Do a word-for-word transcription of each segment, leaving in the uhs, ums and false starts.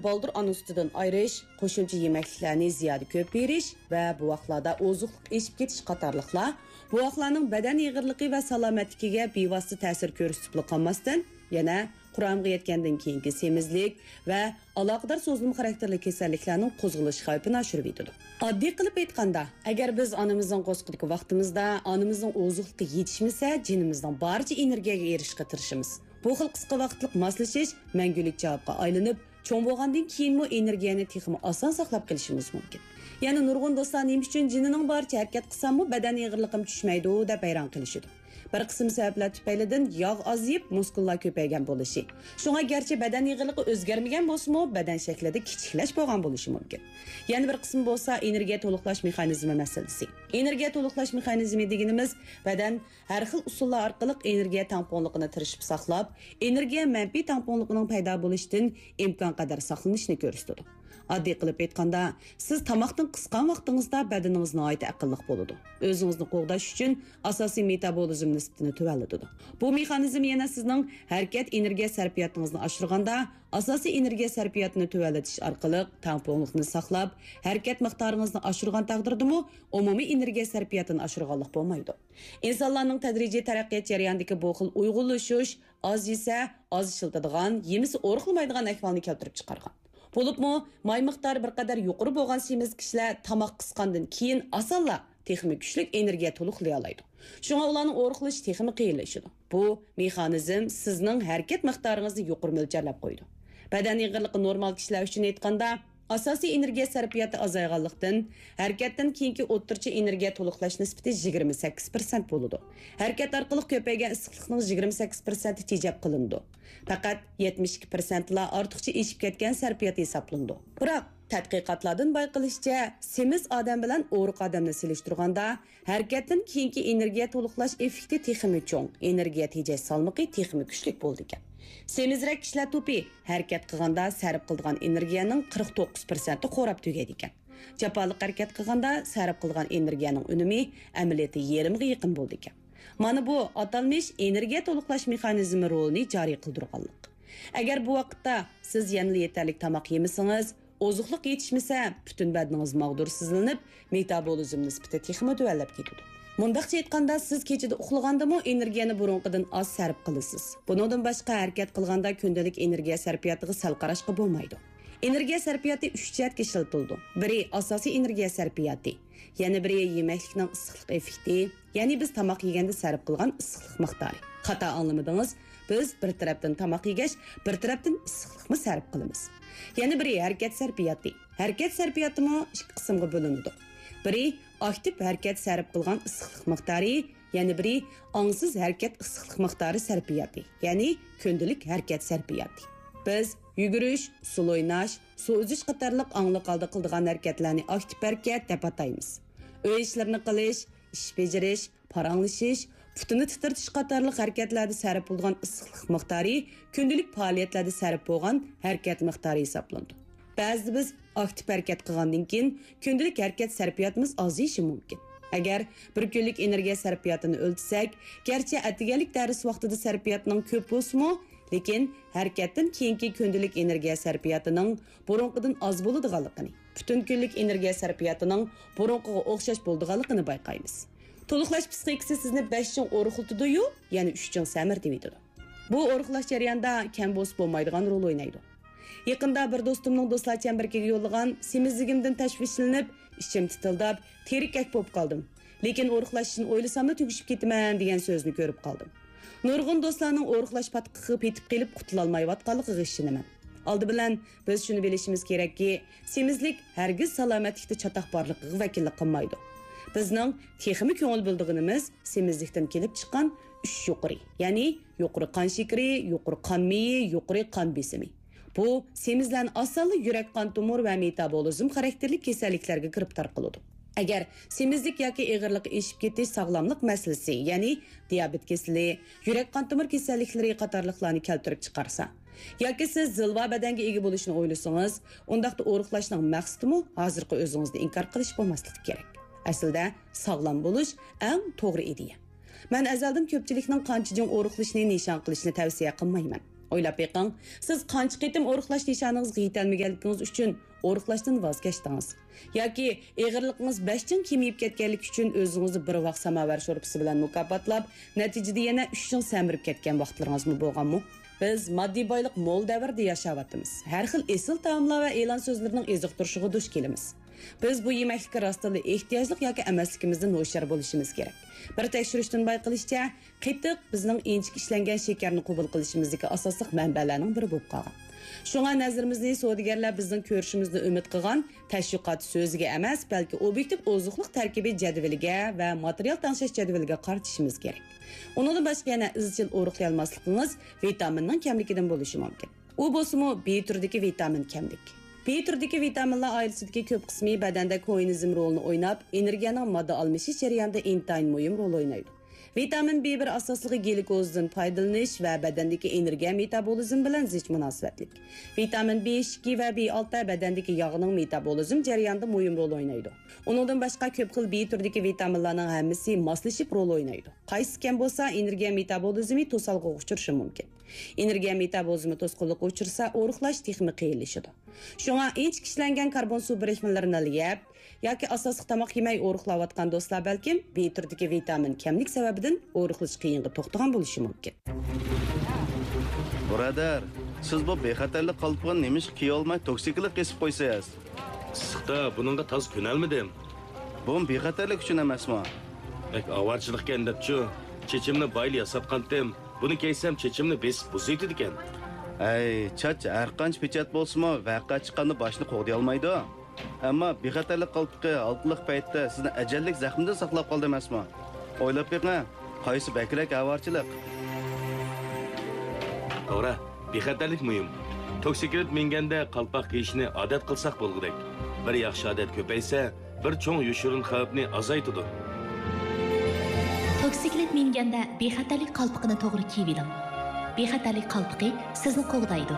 بالدۇر ئانا سۈتىدىن ئايرىش، قوشۇمچە يېمەكلىكلەرنى زىيادە كۆپ بېرىش ۋە بوۋاقلاردا ئوزۇقلۇق ئېشىپ كېتىش قاتارلىقلار بوۋاقلارنىڭ بەدەن ئېغىرلىقى ۋە سالامەتلىكىگە بىۋاسىتە تەسىر كۆرسىتىپلا قالماستىن، يەنە قۇرامىغا يەتكەندىن كېيىنكى سېمىزلىك ۋە ئالاقىدار سوزۇلما خاراكتېرلىك كېسەللىكلەرنىڭ قوزغىلىش خەۋپىنى ئاشۇرۇۋېتىدۇ. ئاددىي قىلىپ ئېيتقاندا، ئەگەر بىز ئانىمىزنىڭ قورسىقىدىكى ۋاقتىمىزدا ئانىمىزنىڭ ئوزۇقلۇقى يېتىشمىسە، جېنىمىزنىڭ بارىچە ئېنېرگىيەگە ئېرىشىشقا تىرىشىمىز. بۇ خىل قىسقا ۋاقىتلىق ماسلىشىش مەڭگۈلۈك جاۋابقا ئايلىنىپ، چوڭ بولغاندىن كېيىنمۇ ئېنېرگىيەنى تېخىمۇ ئاسان ساقلاپ قېلىشىمىز مۇمكىن. يەنە نۇرغۇن دوستلار نېمە ئۈچۈن جېنىنىڭ بارىچە ھەرىكەت قىلساممۇ بەدەن ئېغىرلىقىم چۈشمەيدۇ دەپ ھەيران قېلىشىدۇ. بىر قىسىم سەۋەبلەر تۈپەيلىدىن ياغ ئازىيىپ، مۇسكۇللار كۆپەيگەن بولۇشى. شۇڭا گەرچە بەدەن ئېغىرلىقى ئۆزگەرمىگەن بولسىمۇ، بەدەن شەكلىدە كىچىكلەش بولغان بولۇشى مۇمكىن. يەنە بىر قىسمى بولسا ئېنېرگىيە تولۇقلاش مېخانىزمى مەسىلىسى. ئېنېرگىيە تولۇقلاش مېخانىزمى دېگىنىمىز بەدەن ھەر خىل ئۇسۇللار ئارقىلىق ئېنېرگىيە تەڭپۇڭلۇقىنى تىرىشىپ ساقلاپ، ئېنېرگىيە مەنپىي تەڭپۇڭلۇقىنىڭ پەيدا بولۇشىدىن ئىمكانقەدەر ساقلىنىشنى كۆرسىتىدۇ. ئاددىي قىلىپ ئېيتقاندا، سىز تاماقتىن قىسقان ۋاقتىڭىزدا بەدىنىڭىز ناھايىتى ئەقىللىق بولىدۇ. ئۆزىڭىزنى قوغداش ئۈچۈن ئاساسىي مېتابولىزم نىسبىتىنى تۆۋەنلىتىدۇ. بۇ مېخانىزم يەنە سىزنىڭ ھەرىكەت ئېنېرگىيە سەرپىياتىڭىزنى ئاشۇرغاندا، ئاساسىي ئېنېرگىيە سەرپىياتىنى تۆۋەنلىتىش ئارقىلىق تەڭپۇڭلۇقنى ساقلاپ، ھەرىكەت مىقدارىڭىزنى ئاشۇرغان تەقدىردىمۇ، ئومۇمىي ئېنېرگىيە سەرپىياتىنى ئاشۇرغانلىق بولمايدۇ. ئىنسانلارنىڭ تەدرىجىي تەرەققىيات جەريانىدىكى بۇ خىل ئۇيغۇنلىشىش ئاز يېسە، ئاز ئىشلىتىدىغان، يېمىسە ئورۇقلىمايدىغان ئەھۋالنى كەلتۈرۈپ چىقارغان. بولۇپمۇ ماي مىقدارى بىر قەدەر يۇقىرى بولغان سېمىز كىشىلەر تاماق قىسقاندىن كېيىن ئاسانلا تېخىمۇ كۈچلۈك ئېنېرگىيە تولۇقلىيالايدۇ. شۇڭا ئۇلارنىڭ ئورۇقلىشى تېخىمۇ قىيىنلىشىدۇ. بۇ مېخانىزم سىزنىڭ ھەرىكەت مىقدارىڭىزنى يۇقىرى مۆلچەرلەپ قويىدۇ. بەدەن ئېغىرلىقى نورمال كىشىلەر ئۈچۈن ئېيتقاندا، ئاساسىي ئېنېرگىيە سەرپىياتى ئازايغانلىقتىن، ھەرىكەتتىن كېيىنكى ئوتتۇرىچە ئېنېرگىيە تولۇقلاش نىسبىتى يىگىرمە سەككىز پىرسەنت بولىدۇ. ھەرىكەت ئارقىلىق كۆپەيگەن ئىسسىقلىقنىڭ يىگىرمە سەككىز پىرسەنتى تېجەپ قىلىنىدۇ. پەقەت يەتمىش ئىككى پىرسەنتلا ئارتۇقچە ئېشىپ كەتكەن سەرپىيات ھېسابلىنىدۇ. بىراق، تەتقىقاتلاردىن بايقىلىشىچە، سېمىز ئادەم بىلەن ئورۇق ئادەمنى سېلىشتۇرغاندا، ھەرىكەتتىن كېيىنكى ئېنېرگىيە تولۇقلاش ئېففېكتى تېخىمۇ چوڭ، ئېنېرگىيە تېجەش سالمىقى تېخىمۇ كۈچلۈك بولىدىكەن. سېمىزرەك كىشىلەر توپى ھەرىكەت قىلغاندا سەرپ قىلىدىغان ئېنېرگىيەنىڭ قىرىق توققۇز پىرسەنتى خوراپ تۈگەيدىكەن. جاپالىق ھەرىكەت قىلغاندا سەرپ قىلىدىغان ئېنېرگىيەنىڭ ئۈنۈمى ئەمەلىيەتتە يېرىمغا يېقىن بولىدىكەن. مانا بۇ ئاتالمىش ئېنېرگىيە تولۇقلاش مېخانىزمى رولىنى جارى قىلدۇرغانلىق. ئەگەر بۇ ۋاقىتتا سىز يەنىلا يېتەرلىك تاماق يېمىسىڭىز، ئوزۇقلۇق يېتىشمىسە، پۈتۈن بەدىنىڭىز ماغدۇرسىزلىنىپ، مېتابولىزم نىسبىتى تېخىمۇ تۆۋەنلەپ كېتىدۇ. مۇنداقچە ئېيتقاندا، سىز كېچىدە ئۇخلىغاندىمۇ ئېنېرگىيەنى بۇرۇنقىدىن ئاز سەرپ قىلىسىز. بۇنىڭدىن باشقا، ھەرىكەت قىلغاندا كۈندىلىك ئېنېرگىيە سەرپىياتىغا سەل قاراشقا بولمايدۇ. ئېنېرگىيە سەرپىياتى ئۈچ جەھەتكە ئىشلىتىلىدۇ. بىرى ئاساسىي ئېنېرگىيە سەرپىياتى، يەنە بىرى يېمەكلىكنىڭ ئىسسىقلىق ئېففېكتى، يەنى بىز تاماق يېگەندە سەرپ قىلغان ئىسسىقلىق مىقدارى. خاتا ئاڭلىمىدىڭىز، بىز بىر تەرەپتىن تاماق يېگەچ، بىر تەرەپتىن ئىسسىقلىقمۇ سەرپ قىلىمىز. يەنە بىرى ھەرىكەت سەرپىياتى. ھەرىكەت سەرپىياتىمۇ ئىككى قىسىمغا بۆلۈنىدۇ. بىرى ئاكتىپ ھەرىكەت سەرپ قىلغان ئىسسىقلىق مىقدارى، يەنە بىرى ئاڭسىز ھەرىكەت ئىسسىقلىق مىقدارى سەرپىياتى، يەنى كۈندىلىك ھەرىكەت سەرپىياتى. بىز يۈگۈرۈش، سۇل ئويناش، سۇ ئۈزۈش قاتارلىق ئاڭلىق ھالدا قىلىدىغان ھەرىكەتلەرنى ئاكتىپ ھەرىكەت دەپ ئاتايمىز. ئۆي ئىشلىرىنى قىلىش، ئىش بېجىرىش، پاراڭلىشىش، پۇتىنى تىترىتىش قاتارلىق ھەرىكەتلەردە سەرپ بولىدىغان ئىسسىقلىق مىقدارى كۈندىلىك پائالىيەتلەردە سەرپ بولغان ھەرىكەت مىقدارى ھېسابلىنىدۇ. بەزىدە بىز ئاكتىپ ھەرىكەت قىلغاندىن كېيىن كۈندىلىك ھەرىكەت سەرپىياتىمىز ئازىيىشى مۇمكىن. ئەگەر بىر كۈنلۈك ئېنېرگىيە سەرپىياتىنى ئۆلچىسەك، گەرچە ئەتىگەنلىك دەرس ۋاقتىدا سەرپىياتنىڭ كۆپ بولسىمۇ، لېكىن ھەرىكەتتىن كېيىنكى كۈندىلىك ئېنېرگىيە سەرپىياتىنىڭ بۇرۇنقىدىن ئاز بولىدىغانلىقىنى، پۈتۈن كۈنلۈك ئېنېرگىيە سەرپىياتىنىڭ بۇرۇنقىغا ئوخشاش بولىدىغانلىقىنى بايقايمىز. تولۇقلاش پىسخىكىسى سىزنى بەش چىڭ ئورۇقلىتىدۇ-يۇ، يەنە ئۈچ چىڭ سەمرىتىۋېتىدۇ. بۇ ئورۇقلاش جەريانىدا كەم بولسا بولمايدىغان رول ئوينايدۇ. يېقىندا بىر دوستۇمنىڭ دوستلار چەمبىرىكىگە يوللىغان «سېمىزلىكىمدىن تەشۋىشلىنىپ، ئىچىم تىتىلداپ، تېرىككەك بولۇپ قالدىم. لېكىن ئورۇقلاشنى ئويلىساملا تۈگىشىپ كېتىمەن» دېگەن سۆزىنى كۆرۈپ قالدىم. نۇرغۇن دوستلارنىڭ ئورۇقلاش پاتقىقىغا پېتىپ قېلىپ قۇتۇلالمايۋاتقانلىقىغا ئىشىنىمەن. ئالدى بىلەن بىز شۇنى بىلىشىمىز كېرەككى، سېمىزلىك ھەرگىز سالامەتلىكتە چاتاق بارلىقىغا ۋەكىللىك قىلمايدۇ. بىزنىڭ تېخىمۇ كۆڭۈل بۆلىدىغىنىمىز سېمىزلىكتىن كېلىپ چىققان ئۈچ يۇقىرى، يەنى يۇقىرى قان شېكىرى، يۇقىرى قان مېيى، يۇقىرى قان بېسىمى. بۇ سېمىزلەرنى ئاسانلا يۈرەك قان تومۇر ۋە مېتابولىزم خاراكتېرلىك كېسەللىكلەرگە گىرىپتار قىلىدۇ. ئەگەر سېمىزلىك ياكى ئېغىرلىقى ئېشىپ كېتىش ساغلاملىق مەسىلىسى، يەنى دىيابېت كېسىلى، يۈرەك قان تومۇر كېسەللىكلىرى قاتارلىقلارنى كەلتۈرۈپ چىقارسا، ياكى سىز زىلۋا بەدەنگە ئىگە بولۇشنى ئويلىسىڭىز، ئۇنداقتا ئورۇقلاشنىڭ مەقسىتىمۇ ھازىرقى ئۆزىڭىزنى ئىنكار قىلىش بولماسلىقى كېرەك. ئەسلىدە ساغلام بولۇش ئەڭ توغرا ئىدىيە. مەن ئەزەلدىن كۆپچىلىكنىڭ قانچە جىڭ ئورۇقلىشىنى نىشان قىلىشنى تەۋسىيە قىلمايمەن. ئويلاپ بېقىڭ، سىز قانچە قېتىم ئورۇقلاش نىشانىڭىزغا يېتەلمىگەنلىكىڭىز ئۈچۈن ئورۇقلاشتىن ۋاز كەچتىڭىز؟ ياكى ئېغىرلىقىڭىز بەش چىڭ كېمىيىپ كەتكەنلىكى ئۈچۈن ئۆزىڭىزنى بىر ۋاق ساماۋار شورپىسى بىلەن مۇكاپاتلاپ، نەتىجىدە يەنە ئۈچ چىڭ سەمرىپ كەتكەن ۋاقىتلىرىڭىزمۇ بولغانمۇ؟ بىز ماددىي بايلىق مول دەۋرىدە ياشاۋاتىمىز. ھەر خىل ئېسىل تائاملار ۋە ئېلان سۆزلىرىنىڭ ئېزىقتۇرۇشىغا دۇچ كېلىمىز. بىز بۇ يېمەكلىككە راستتىنلا ئېھتىياجلىق ياكى ئەمەسلىكىمىزدىن ھوشيار بولۇشىمىز كېرەك. بىر تەكشۈرۈشتىن بايقىلىشىچە، قېتىق بىزنىڭ ئىنچىكە ئىشلەنگەن شېكەرنى قوبۇل قىلىشىمىزدىكى ئاساسلىق مەنبەلەرنىڭ بىرى بولۇپ قالغان. شۇڭا نەزىرىمىزنى سودىگەرلەر بىزنىڭ كۆرۈشىمىزدىن ئۈمىد قىلغان تەشۋىقات سۆزىگە ئەمەس، بەلكى ئوبيېكتىپ ئوزۇقلۇق تەركىبى جەدۋىلىگە ۋە ماتېرىيال تەڭشەش جەدۋىلىگە قارىتىشىمىز كېرەك. ئۇنىڭدىن باشقا يەنە ئىزچىل ئورۇقلىيالماسلىقىڭىز ۋىتامىننىڭ كەملىكىدىن بولۇشى مۇمكىن. ئۇ بولسىمۇ بى تۈرىدىكى ۋىتامىن كەملىك. بى تۈرىدىكى ۋىتامىنلار ئائىلىسىدىكى كۆپ قىسمى بەدەندە كوئېنزىم رولىنى ئويناپ، ئېنېرگىيەنىڭ ماددا ئالمىشىش جەريانىدا ئىنتايىن مۇھىم رول ئوينايدۇ. ۋىتامىن بى بىر ئاساسلىقى گليۇكوزدىن پايدىلىنىش ۋە بەدەندىكى ئېنېرگىيە مېتابولىزم بىلەن زىچ مۇناسىۋەتلىك. ۋىتامىن بى ئىككى ۋە بى ئالتە بەدەندىكى ياغنىڭ مېتابولىزم جەريانىدا مۇھىم رول ئوينايدۇ. ئۇنىڭدىن باشقا، كۆپ خىل بى تۈرىدىكى ۋىتامىنلارنىڭ ھەممىسى ماسلىشىپ رول ئوينايدۇ. قايسىسى كەم بولسا، ئېنېرگىيە مېتابولىزمى توسالغۇغا ئۇچرىشى مۇمكىن. ئېنېرگىيە مېتابولىزمى توسقۇنلۇققا ئۇچرىسا، ئورۇقلاش تېخىمۇ قىيىنلىشىدۇ. شۇڭا ئىنچىكە ئىشلەنگەن كاربون سۇ بىرىكمىلىرىنى يەپ ياكى ئاساسلىق تاماق يېمەي ئورۇقلاۋاتقان دوستلار بەلكىم بى تۈرىدىكى ۋىتامىن كەملىك سەۋەبىدىن ئورۇقلىشىش قىيىنغا توختىغان بولۇشى مۇمكىن. بۇرادەر، سىز بۇ بىخەتەرلىك قالپىقىنى نېمىشقا كىيەلمەي توكسىكلىق قېسىپ قويىسىز؟ ئىسسىقتا بۇنىڭغا تازا كۆنەلمىدىم. بۇمۇ بىخەتەرلىك ئۈچۈن ئەمەسمۇ؟ بەك ئاۋارىچىلىقكەن دەپچۇ، چېچىمنى بايىلا ياساتقانتىم. بۇنى كىيسەم چېچىمنى بېسىپ بۇزۇۋېتىدىكەن. ھەي، چاچ ھەرقانچە پېچەت بولسىمۇ، ۋەقە چىققاندا باشنى قوغدىيالمايدۇ. ئەمما بىخەتەرلىك قالپىقى ھالقىلىق پەيتتە سىزنى ئەجەللىك زەخمىدىن ساقلاپ قالدى ئەمەسمۇ؟ ئويلاپ بېقىڭ، قايسى بەكرەك ئاۋارىچىلىق؟ توغرا، بىخەتەرلىك مۇھىم. توكسىكلىت مىنگەندە قالپاق كىيىشنى ئادەت قىلساق بولغۇدەك. بىر ياخشى ئادەت كۆپەيسە، بىر چوڭ يوشۇرۇن خەۋپنى ئازايتىدۇ. توكسىكلىت مىنگەندە بىخەتەرلىك قالپىقىنى توغرا كىيىۋېلىڭ. بىخەتەرلىك قالپىقى سىزنى قوغدايدۇ.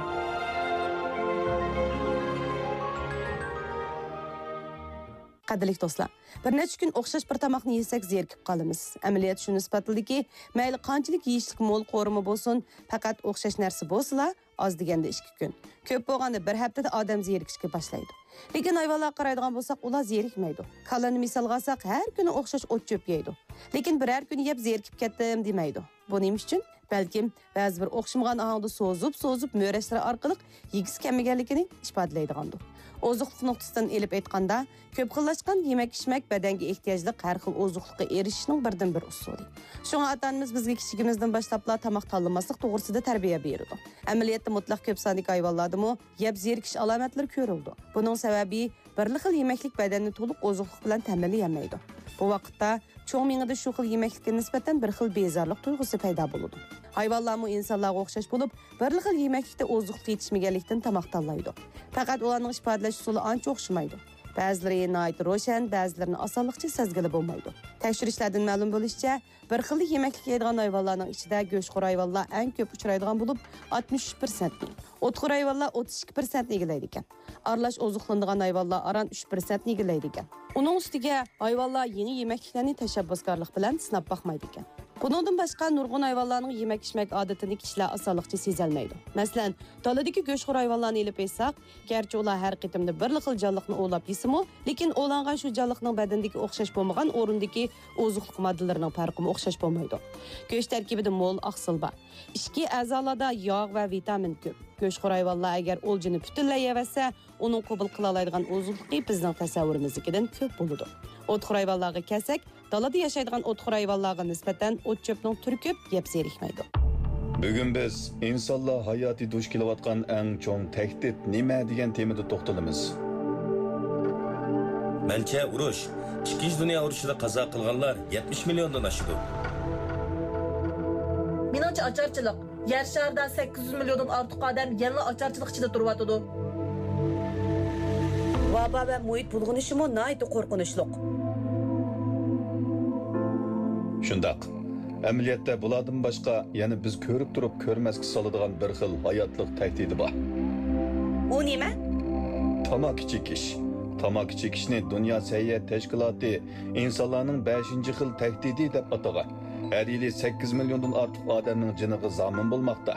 قەدىرلىك دوستلار، بىر نەچچە كۈن ئوخشاش بىر تاماقنى يېسەك زېرىكىپ قالىمىز. ئەمەلىيەت شۇنى ئىسپاتلىدىكى، مەيلى قانچىلىك يېيىشلىك مول قورۇما بولسۇن، پەقەت ئوخشاش نەرسە بولسىلا، ئاز دېگەندە ئىككى كۈن، كۆپ بولغاندا بىر ھەپتىدە ئادەم زېرىكىشكە باشلايدۇ. لېكىن ھايۋانلارغا قارايدىغان بولساق، ئۇلار زېرىكمەيدۇ. كالىنى مىسالغا ئالساق، ھەر كۈنى ئوخشاش ئوت-چۆپ يەيدۇ. لېكىن بىرەر كۈنى يەپ زېرىكىپ كەتتىم دېمەيدۇ. بۇ نېمە ئۈچۈن؟ بەلكىم بەزى بىر ئوخشىمىغان ئاھاڭدا سوزۇپ-سوزۇپ مۆرەشلىرى ئارقىلىق يېگۈسى كەلمىگەنلىكىنى ئىپادىلەيدىغاندۇر. ئوزۇقلۇق نۇقتىسىدىن ئېلىپ ئېيتقاندا، كۆپ خىللاشقان يېمەك-ئىچمەك بەدەنگە ئېھتىياجلىق ھەر خىل ئوزۇقلۇققا ئېرىشىشنىڭ بىردىنبىر ئۇسۇلى. شۇڭا ئاتا-ئانىمىز بىزگە كىچىكىمىزدىن باشلاپلا تاماق تاللىماسلىق توغرىسىدا تەربىيە بېرىدۇ. ئەمەلىيەتتە مۇتلەق كۆپ ساندىكى ھايۋانلاردىمۇ يەپ زېرىكىش ئالامەتلىرى كۆرۈلىدۇ. بۇنىڭ سەۋەبى، بىرلا خىل يېمەكلىك بەدەننى تولۇق ئوزۇقلۇق بىلەن تەمىنلىيەلمەيدۇ. بۇ ۋاقىتتا چوڭ مېڭىدە شۇ خىل يېمەكلىككە نىسبەتەن بىر خىل بىزارلىق تۇيغۇسى پەيدا بولىدۇ. ھايۋانلارمۇ ئىنسانلارغا ئوخشاش بولۇپ، بىرلا خىل يېمەكلىكتە ئوزۇقلۇق يېتىشمىگەنلىكتىن تاماق تاللايدۇ. پەقەت ئۇلارنىڭ ئىپادىلەش ئۇسۇلى ئانچە ئوخشىمايدۇ. بەزىلىرى ناھايىتى روشەن، بەزىلىرىنى ئاسانلىقچە سەزگىلى بولمايدۇ. تەكشۈرۈشلەردىن مەلۇم بولۇشىچە، بىر خىللا يېمەكلىك يەيدىغان ھايۋانلارنىڭ ئىچىدە گۆشخور ھايۋانلار ئەڭ كۆپ ئۇچرايدىغان بولۇپ، ئاتمىش ئۈچ پىرسەنتنى، ئوتخور ھايۋانلار ئوتتۇز ئىككى پىرسەنتنى ئىگىلەيدىكەن. ئارىلاش ئوزۇقلىنىدىغان ھايۋانلار ئاران ئۈچ پىرسەنتنى ئىگىلەيدىكەن. ئۇنىڭ ئۈستىگە ھايۋانلار يېڭى يېمەكلىكلەرنى تەشەببۇسكارلىق بىلەن سىناپ باقمايدىكەن. بۇنىڭدىن باشقا، نۇرغۇن ھايۋانلارنىڭ يېمەك-ئىچمەك ئادىتىنى كىشىلەر ئاسانلىقچە سېزەلمەيدۇ. مەسىلەن، دالىدىكى گۆشخور ھايۋانلارنى ئېلىپ ئېيتساق، گەرچە ئۇلار ھەر قېتىمدا بىرلا خىل جانلىقنى ئوۋلاپ يېسىمۇ، لېكىن ئوۋلانغان شۇ جانلىقنىڭ بەدىنىدىكى ئوخشاش بولمىغان ئورۇندىكى ئوزۇقلۇق ماددىلىرىنىڭ پەرقىمۇ ئوخشاش بولمايدۇ. گۆش تەركىبىدە مول ئاقسىل بار. ئىچكى ئەزالاردا ياغ ۋە ۋىتامىن كۆپ. گۆشخور ھايۋانلار ئەگەر ئولجىنى پۈتۈنلەي يەۋەتسە، ئۇنىڭ قوبۇل قىلالايدىغان ئوزۇقلۇقى بىزنىڭ تەسەۋۋۇرىمىزدىكىدىن كۆپ بولىدۇ. ئوتخور ھايۋانلارغا كەلسەك، دالادا ياشايدىغان ئوتخور ھايۋانلارغا نىسبەتەن ئوت-چۆپنىڭ تۈرى كۆپ، يەپ زېرىكمەيدۇ. بۈگۈن بىز ئىنسانلار ھاياتى دۇچ كېلىۋاتقان ئەڭ چوڭ تەھدىت نېمە دېگەن تېمىدا توختىلىمىز. مەنچە، ئۇرۇش. ئىككىنچى دۇنيا ئۇرۇشىدا قازا قىلغانلار يەتمىش مىليوندىن ئاشىدۇ. مېنىڭچە، ئاچارچىلىق. يەر شارىدا سەككىز يۈز مىليوندىن ئارتۇق ئادەم يەنىلا ئاچارچىلىق ئىچىدە تۇرۇۋاتىدۇ. ۋابا ۋە مۇھىت بۇلغىنىشىمۇ ناھايىتى قورقۇنچلۇق. شۇنداق. ئەمەلىيەتتە بۇلاردىن باشقا يەنە بىز كۆرۈپ تۇرۇپ كۆرمەسكە سالىدىغان بىر خىل ھاياتلىق تەھدىتى بار. ئۇ نېمە؟ تاماكا چېكىش. تاماكا چېكىشنى دۇنيا سەھىيە تەشكىلاتى ئىنسانلارنىڭ بەشىنچى خىل تەھدىتى دەپ ئاتىغان. ھەر يىلى سەككىز مىليوندىن ئارتۇق ئادەمنىڭ جېنىغا زامىن بولماقتا.